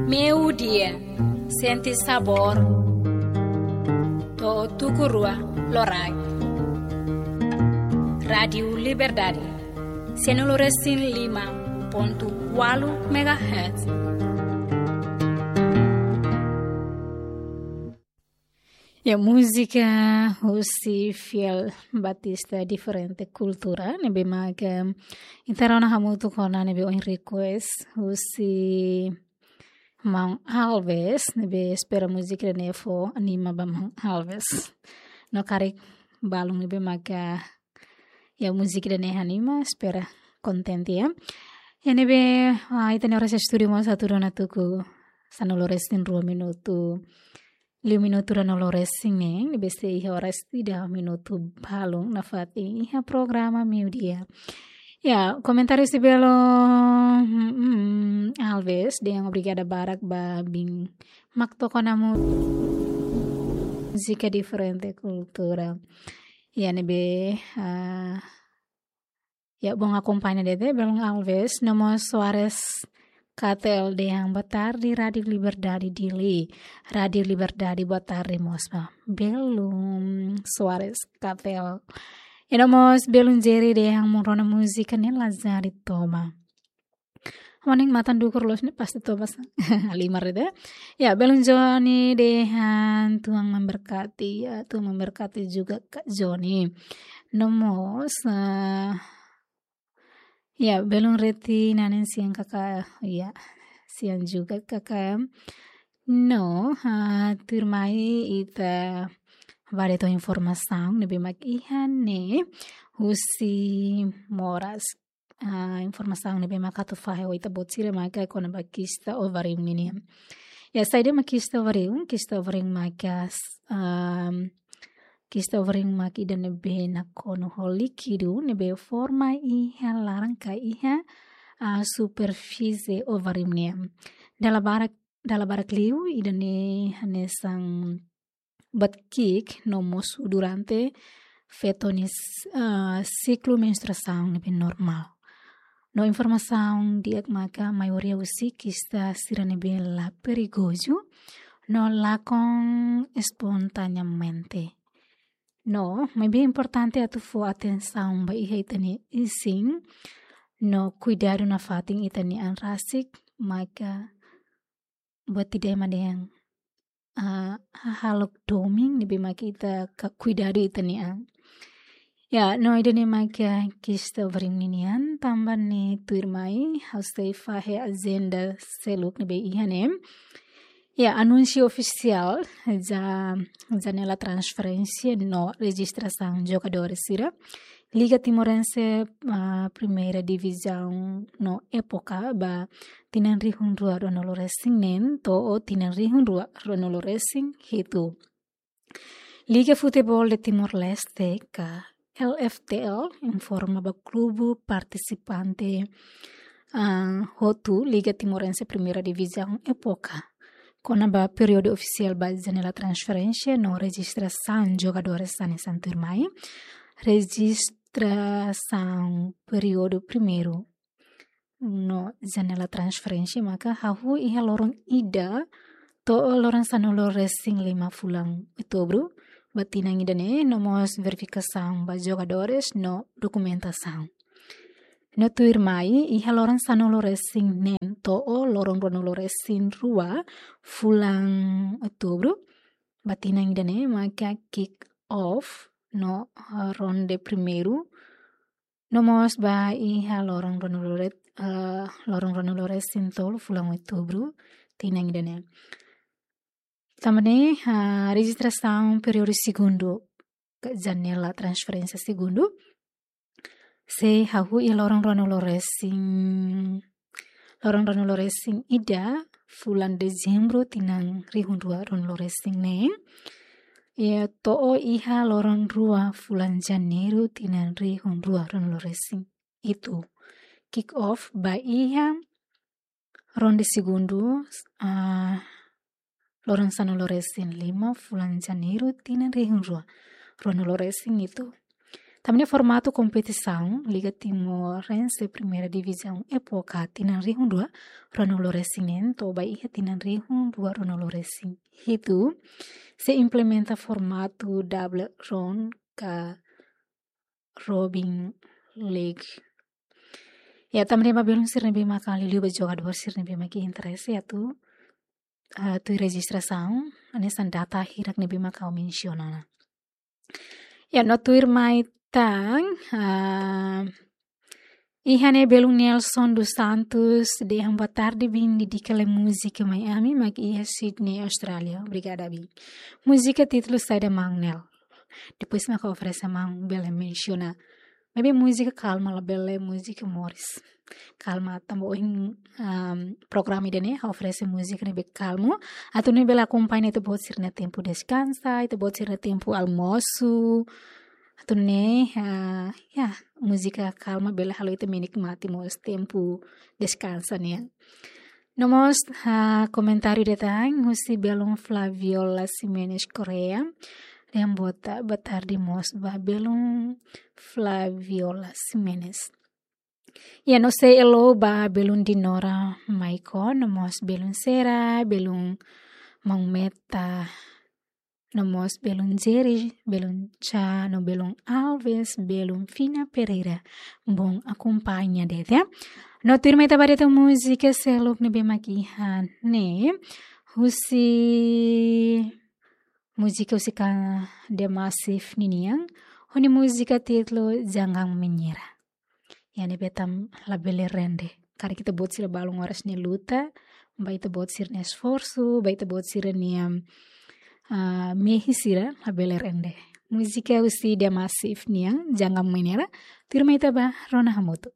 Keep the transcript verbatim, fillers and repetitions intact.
Meiudia, sente sabór. To'o tuku rua loraik. Rádiu Liberdade, sanulu resin lima pontu ualu megahertz. Ya, múzika husi Fiel Batista, Diferente Kultura, ne'ebé mak ita rona hamutuk ona, ne'ebé ohin request husi Maun Alves, ne'ebé espera múzika ida-ne'e fó anima ba Maun Alves. No karik balun ne'ebé mak, ya, múzika ida-ne'e anima, espera kontente, ya. Ya, ne'ebé, ah, ita-nia oras estúdiu mós atu rona tuku sanulu resin rua minutu, liu minutu ruanulu resin neen, ne'ebé sei iha oras ida minutu balun nafatin iha programa meiudia. Ya, komentáriu husi belun, hmm, hmm, Alves dehan obrigada barak ba biin mak toka ona múzika Diferente Kultura. Ya, ne'ebé, ah, ya, bom akompaña de'it, belun Alves, no mós Soares Katel dehan boa tarde, Rádiu Liberdade Dili. Rádiu Liberdade, boa tarde mós ba belun Soares Katel. I no mós belun Jerry dehan mak rona múzika ne'e lazari toba. Maun ne'e matan dukur loos ne'e pasti toba sa. Halimar de'it. Ya, belun Joni dehan Tuhan memberkati, ya, Tuhan memberkati juga Kak Joni. No mós, ah, ya, belun Reti Nanen, siang Kakak, ya, siang juga Kakak. No, ah, tuirmai ita bá de'it ho informasaun ne'ebé mak iha ne'e husi moras. Ah, informasaun ne'ebé mak atu fahe ho ita-boot sira maka kona-ba kista ovarium ninian. Ya, saida mak kista ovarium? Kista ovarium maka, ehm, kista ovarium mak ida ne'ebé nakonu ho líkidu ne'ebé forma iha laran ka iha, ah, superfísie ovarium nian. Dala barak, dala barak liu ida-ne'e hanesan buat ki'ik no mosu durante feto nia, ah, siklu menstruasaun ne'ebé normál. No informasaun di'ak maka maioria husi kista sira ne'ebé la perigozu no lakon espontaneamente. No, maibé importante atu fó atensaun ba iha ita-nia isin no kuidadu nafatin ita-nia an rasik, maka buat ida ema dehan, ah, hahalok domin ne'ebé mak ita ka kuidadu ita-nia an. Ya, no ida-ne'e mak kista ovarium ninian, tanba ne'e tuirmai ha'u sei fahe ajenda seluk ne'ebé iha ne'e. Ya, anúnsiu ofisiál ja-, janela transferénsia no rejistrasaun jogadór sira Liga Timorense, ah, Primeira Divizaun no Época ba tinan rihun rua ruanulu resin neen to'o tinan rihun rua ruanulu resin hitu. Liga Futebol de Timor-Leste ka L F T L informa ba klube partisipante, ah, hotu Liga Timorense Primeira Divizaun Época kona-ba períodu ofisiál ba janela transferénsia no rejistrasaun jogadores hanesan tuirmai. Rejistrasaun períodu primeiru no janela transferénsia maka hahú iha loron ida to'o loron sanulu resin lima fulan Outubru ba tinan ida-ne'e, no mós verifikasaun ba jogadores no dokumentasaun. No tuirmai iha loron sanulu resin neen to'o loron ruanulu resin rua fulan Outubru ba tinan ida-ne'e maka kick off no, eh, ronde primeiru, no mós ba iha loron ruanulu re-, eh, loron ruanulu resin tolu fulan Outubru tinan ida-ne'e. Tanba ne'e, ah, rejistrasaun períodu segundu ka janela transferénsia segundu sei hahú iha loron ruanulu resin, loron ruanulu resin ida fulan Dezembru tinan rihun rua ruanulu resin neen, i to'o iha loron rua fulan Janeiru tinan rihun rua ruanulu resin hitu. Kick off ba iha ronde segundu, ah, loron sanulu resin lima fulan Janeiru tinan rihun rua ruanulu resin hitu. Tanba ne'e formatu kompetisaun Liga Timorense Primeira Divizaun époka tinan rihun rua ruanulu resin neen to'o ba iha tinan rihun rua ruanulu resin hitu sei implementa formatu double round ka Robin League. Ya, tanba ne'e ba belun sira ne'ebé maka liuliu ba jogadór sira ne'ebé maka interese atu, ah, tuir rejistrasaun, hanesan data hirak ne'ebé maka ha'u mensiona. Ya, no tuirmai tan, ah, iha ne'e belun Nelson dos Santos dehan boa tarde, bin dedika lai múzika mai ami, mak iha Sydney, Austrália. Obrigada, bin. Múzika títulu saida, maun Nel? Depois maka oferese maun bele mensiona. Maibé múzika kalma, labele múzika moris. Kalma, tanba ohin, um, programa ida-ne'e oferese múzika ne'ebé kalma. Atu nune'e bele akompaña ita-boot sira-nia tempu deskansa, ita-boot sira-nia tempu almosu. Atu nune'e, ah, ya, múzika kalma bele halo ita menikmati mós tempu deskansa nian. No mós, ah, komentáriu ida tan husi belun Flaviola Ximenes Correa. Dehan boa ta-, boa tarde mós ba belun Flaviola Ximenes. Ya, no sei hello ba belun Dinora Maicon, no mós belun Sera, belun Maun Meta, no mós belun Jerry, belun Cha, no belun Alves, belun Fina Pereira. Bom, akompaña de'it, ya. No tuirmai ita ba de'it múzika seluk ne'ebé mak iha ne'e. Husi múzika husi ka The Massive ninian. Ho nia múzika títulu Jangan Menyerah. Ya, ne'ebé tan labele rende. Karik ita-boot sira balun oras ne'e luta, ba ita-boot sira-nia esforsu, ba ita-boot sira-nia, ah, mehi sira, labele rende. Múzika husi The Massive nian, Jangan Menyerah, tuirmai ita ba rona hamutuk.